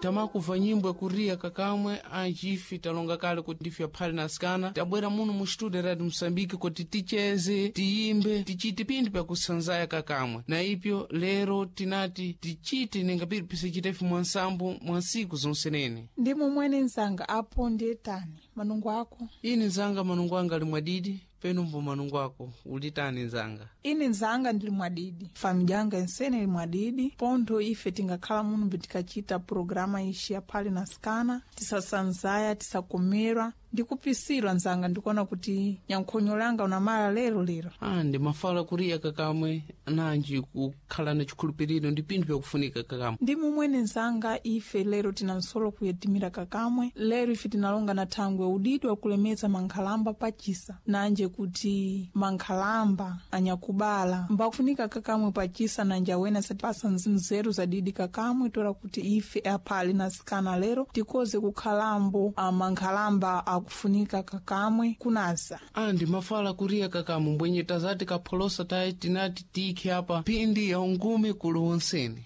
Tamakuva nyimbo yakuriya kakamwe anjifi talonga kale kuti ndife aphale na asikana tabwera muno mu studio Radio Msambiki kuti ticheze, tiyimbe, tichite pinthu pyakusanzaya kakamwe. Na ipyo lero tinati tichite ninga pili pisachitefe mwansambo mwa nsiku zonsenene. Ndi momwene nzanga apo ndiye tani manungo ako? Ini nzanga manungo anga ali mwadidi, peno mbo manungo ako ulitani nzanga? Ine nzanga ndili mwadidi, famili yanga ensene ili mwadidi. Pontho ife tingakhala muno tikachita programa ixi ya phale na sikana, tisasanzaya, tisakomerwa ndikupisilwa nzanga. Ndikuona kuti nyankhonyo langa unamala lero lero. Ah, ndimafala kuriya kakamwe nanji kukhala na chikhulupiriro ndi pinthu pyakufunika kakamwe. Ndi momwene nzanga ife lero tina nsolo kuyetimira kakamwe. Lero ife tinalonga na thangwe udidi wakulemeza mankhalamba pachisa, nanje kuti mankhalamba anyakubala mbakufunika kakamwe pachisa, nanje awene asatipasa nzeru zadidi kakamwe, tola kuti ife aphale na sikana lero tikoze kukhalambo mankhalamba akufunika kakamwe kunasa. Ah, ndimafala kuriya kakamwe mbwenye tazati kapholosa tayi tinati tikhe apa phindi ya ungumi kuli wonsene.